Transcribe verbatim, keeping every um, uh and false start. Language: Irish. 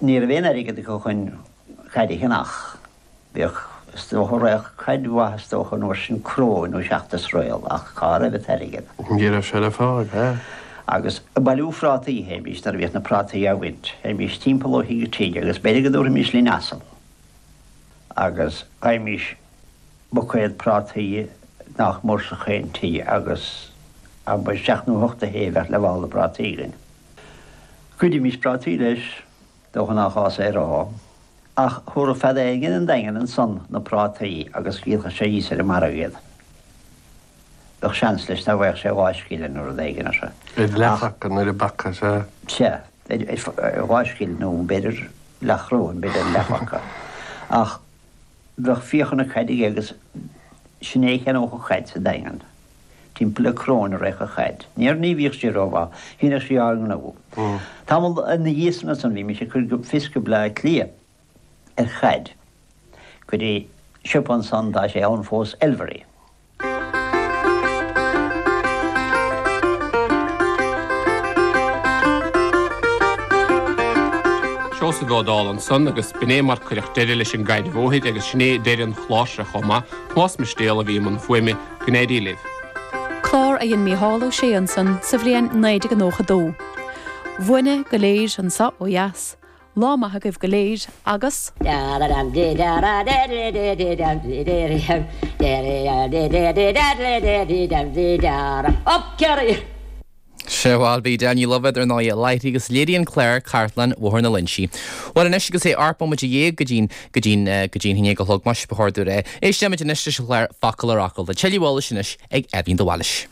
Ní raibh aon airgead acu chun caid a cheannach. Bhíodh, is dócha, raghadh caid mhaith is dócha an uair sin cróin nó seacht is réal ach cá raibh an t-airgead? Ní raibh sé le fáil, ea. Agus ag bailiú phrátaí a théimís nuair a bhíodh na prátaí á bhaint. Théimís timpeall ó thigh go tigh agus b'fhéidir go dtabharfaimis linn asal agus fhaighimís buicéad prátaí nach mór sa chaon tigh agus abair seacht nó hocht a shé a bheadh le mála prátaí againn. Ghoidimís prátaí leis, dócha nach gá é a rá, ach thabharfadh fear éigin an Daingean ansan na prátaí agus dhíolfadh sé thíos ar an margadh iad. Bheadh seans leis dá bhfaigheadh sé dhá scilling nó rud éigin ar. Ar leathphaca nó ar an bpaca, sea. Sea, ar dhá scilling nó b'fhéidir leathchoróin, b'fhéidir leathphaca. Ach bheadh fiacha na caide aige agus sin é a cheannódh an chaid sa Daingean. Timpeall le coróin a raghadh an chaid. Níor, ní bhíodh sí rómhaith. Shíneadh sí ár ngnó. Tamall ina dhiaidh san ansan bhí mise ag cur fios go Bleá Cliath ar chaid go dtí siopa ansan, tá sé ann fós, Elvery. Seosamh Ó Dálaigh ansan agus b'in é mar cuireadh deireadh leis an gcaid bhóthair agus sin é deireadh an chláir seo chomh maith. Tomás Mistéal a bhí i mbun fuaime. Go n-éirí libh. Clár a dhein Mícheál Ó Sé ansan sa bhliain naoi déag nócha dó. Uainne go léir anso ó dheas. Lá maith agaibh go léir agus. Sea, bhuel, bhí Danny Lovett ar ndóigh i láthair agus léirigh an clár Cartlann Bhóthar na Loinsí. Bhuel anois agus é ocht mbomaite dhéag go dtí'n, go dtí'n, go dtí'n haon déag a chlog, más ba chóir dúinn é. Éistfimid anois leis an chlár Focal ar Fhocal. Tá tuilleadh eolais anois ag Eibhlín de Bhailís.